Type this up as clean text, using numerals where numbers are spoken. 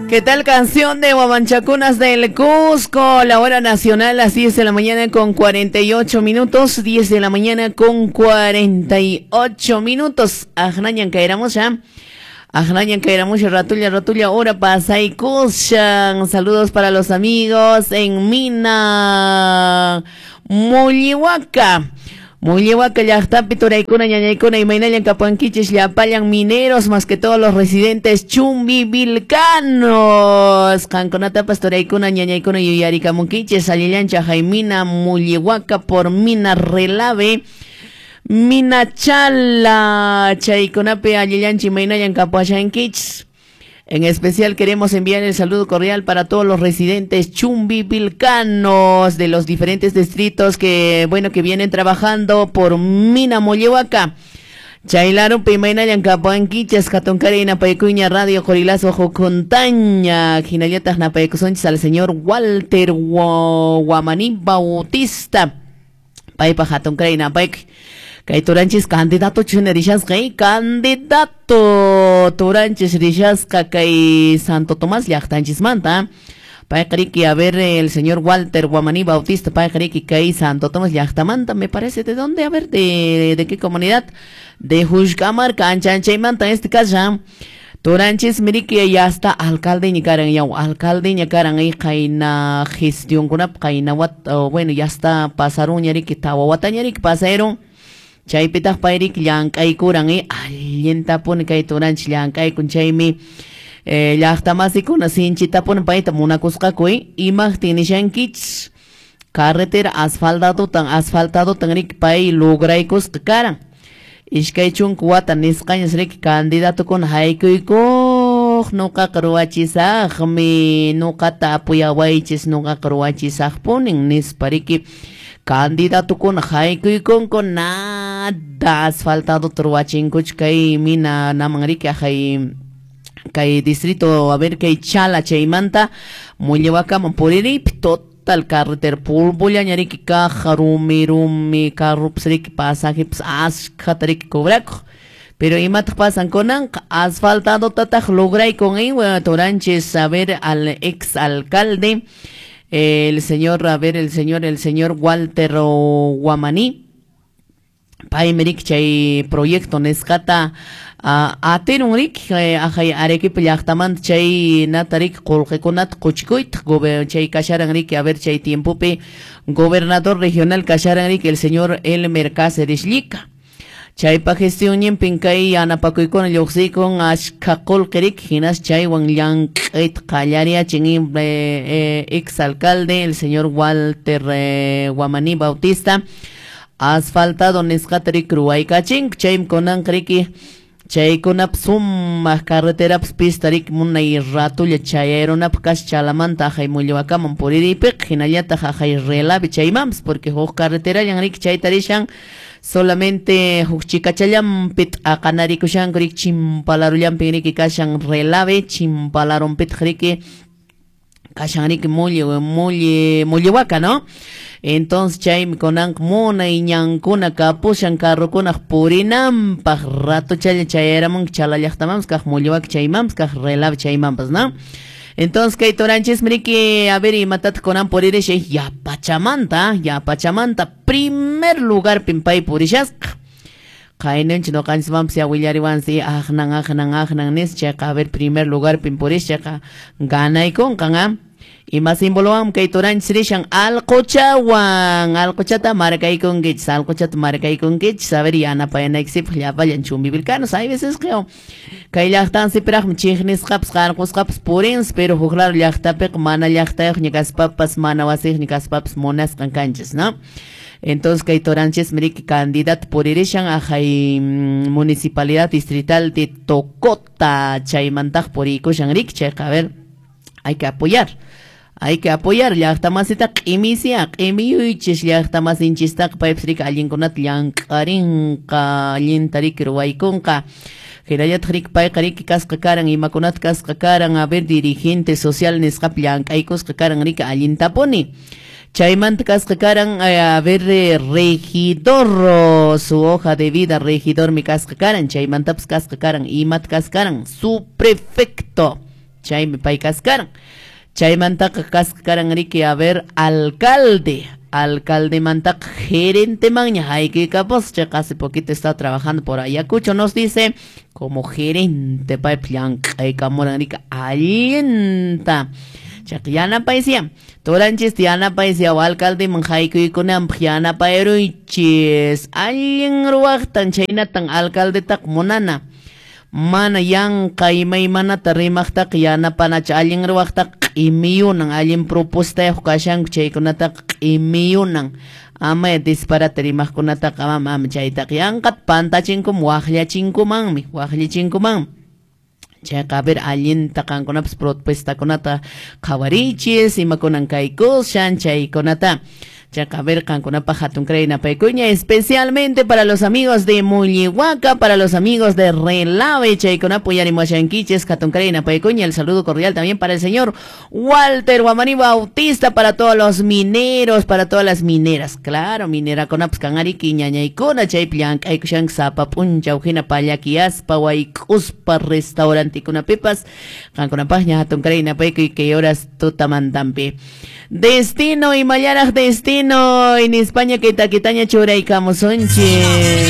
¿Qué tal canción de Huamanchacunas del Cusco? La hora nacional, las 10 de la mañana con 48 minutos. 10 de la mañana con 48 minutos. Ajnañan caeramos ya. Ajnañan caeramos ratulla, ratulla, hora pasaykushan. Saludos para los amigos en Mina Mullihuaca. Mullihuaca llaqtapi turaykuna ñañaykuna imaynallan kapuankichis llapallan mineros más que todos los residentes chumbivilcanos qankunatapas turaykuna ñañaykuna yuyarikamunkichis allillancha Jaimina Mullihuaca por Mina Relave Mina Chala chaykunapi allillancha imaynallan kapuashankichis. En especial queremos enviar el saludo cordial para todos los residentes chumbivilcanos de los diferentes distritos que, bueno, que vienen trabajando por Mina Mollehuaca. Chaylaru pimaynallan kapuankichas hatunkari napaykuña Radio Qorilazo Jukuntaña hinallataq napaykusunchis al señor Walter Guamaní Bautista. Paypa hatunkari napaykuy. Kay turanchis candidato chuna rishasqa, candidato turanchis rishasqa kay Santo Tomás llaqtanchismanta. Payqa riki, a ver, el señor Walter Guamaní Bautista, payqa riki kay Santo Tomás llaqtamanta, me parece, ¿de dónde? A ver, ¿de qué comunidad? De Jushkamarka, anchanchaymanta, en este caso. Turanchis miriki ya está alcalde ñakaran yaw, alcalde ñakaran ay qayna gestionkunap qayna wat, bueno, ya está pasaron ñariki tawa watañariki pasaron. Chaypitaq payrik llank'aykuran allintapuni kay turanchis llank'aykun chaymi llaqtamasikuna sinchitapuni payta munakusqaku imaqtin nishankichis carretera asfaltadotan asfaltadotan riki pay lograykusqa karan iskay chunka wata nisqañas riki candidatokuna haykuykuq nuqaqa ruwachisaqmi nuqata apuyawaychis nuqaqa ruwachisaqpunin nispa riki candidatokuna haykuykunku nada asfaltado ruwachinkuchu kay mina naman riki ajay kay distrito, a ver, kay Chala chaymanta Mullihuacaman puririypi total carretera pulpullaña riki caja rumi rumi carrupas riki pasajepas ashkhata riki cobrakuq. Pero imataq pasan kunanqa asfaltadotataq lograyku turanchis, a ver, al ex alcalde el señor, a ver, el señor Walter Guamaní, paymi riki chay proyecto nisqata atirun riki ajay Arequipa llaqtamanta chay nata riki qullqikunata quchikuyta chay kasharan riki, a ver, chay tiempopi gobernador regional kasharan riki el señor Elmer Cáceres Llica. Chaypa gestionninpin kay yanapakuykuna lluqsiykun ashkha qullqi riki hinas chaywan llank'ayta qallariachin ex alcalde el señor Walter Guamaní Bautista asfaltado nisqata riki ruwaykachinku chaymi kunanqa riki chaykunap sumaq carreterapas pista riki munay ratulla chayayrunapaq kasha Chalamanta ajay Mullihuacaman puririypiqa hinallataq ajay Relave chaymanpas porque huk carreterallan riki chayta rishan solamente huk chikachallanpi t'aqanarikushanku riki chimpalarullanpi riki kashan Relave chimpalarunpitaq riki kashan riki Mullihuaca, ¿no? Entonces chaymi kunanqa munay ñankuna kapushan carrukunaq purinanpaq ratuchalla chayaramunki Chala llaqtamanpas kaq Mullihuaca chaymanpas kaq Relave chaymanpas, ¿no? Entonces kay turanchis riki, a ver, imatataq kunan puririshay yapachamanta primer lugar pay purishasqa qaynanchik nuqanchismanpas ya willariwansi aqnan aqnan aqnan nispa chayqa a ver primer lugar purish chayqa ganaykunqan. Ima simbolowan kay turanchis rishan alquchawan alquchata markaykunkichis alquchata markaykunkichis a ver yanapayanaykisipaq llapallan chumbivilcanos hay veces que kay llaqtansipiraqmi chiqnisqapas qarqusqapas purinsi pero huk lado llaqtapiqa mana llaqtayuqña kaspapas mana wasiyuqña kaspapas munasqan kanchis, ¿no? Entonces kay turanchis riki candidato puririshan ajay municipalidad distrital de Tocota chaymantaq puriykushan riki chayqa a ver hay que apoyar. Hay que apoyar llaqtamasita q'imisia q'imiyuychis llaqtamasinchistaqa paypas riki allinkunata llank'arinqa allinta riki ruwaykunqa hinallataq riki payqa riki kasqa karan imakunata kasqa karan a ver dirigente social nisqapi llank'aykusqa karan riki allintapuni chaymanta kasqa karan a ver regidor su hoja de vida regidormi kasqa karan chaymantapas kasqa karan imata kasqa karan su prefecto. Chaymi pay kaskaran. Chaymantaqa kasqa karan riki, a ver, alcalde. Alcaldemantaqa gerentemanña haykuykapus. Chayqa hace poquito está trabajando por Ayacucho, nos dice, como gerente paypis llank'aykamuran riki allinta. Chayqa yanapaysiya. Turanchista yanapaysiya alcaldeman haykuykunanpaq yanapayruychis. Allin ruwaqtan chhaynatan alcaldetaqa munana. Mana yanqa imaymanata rimaqtaqa yanapanachu, allin ruwaqtaqa q'imiyunan, allin propuestayuq kashanku chaykunataqa q'imiyunan. Ama disparate rimaqkunataqa ama ama chaytaqa yanqata pantachinkuman, waqllachinkumanmi, waqllichinkumanmi. Chayqa, a ver, allinta qankunapas propuestakunata qhawariychis, imakunan kaykushan chaykunata. Chayqa, a ver, qankunapaq hatunkaray napaykuña, especialmente para los amigos de Mullihuaca, para los amigos de Relave, chaykunapa uyarimuashankichis, hatunkaray napaykuña, el saludo cordial también para el señor Walter Guamaní Bautista, para todos los mineros, para todas las mineras, claro, minerakunapas kan ariki ñañaykuna, chaypi llank'aykushanku sapa p'unchaw hina pallakiyaspa, wayk'uspa restaurantikunapipas, qankunapaqña hatunkaray napaykuy kay horas tutamantampi. Destino, imallaraq destino, en España kay takitaña churaykamusunchis.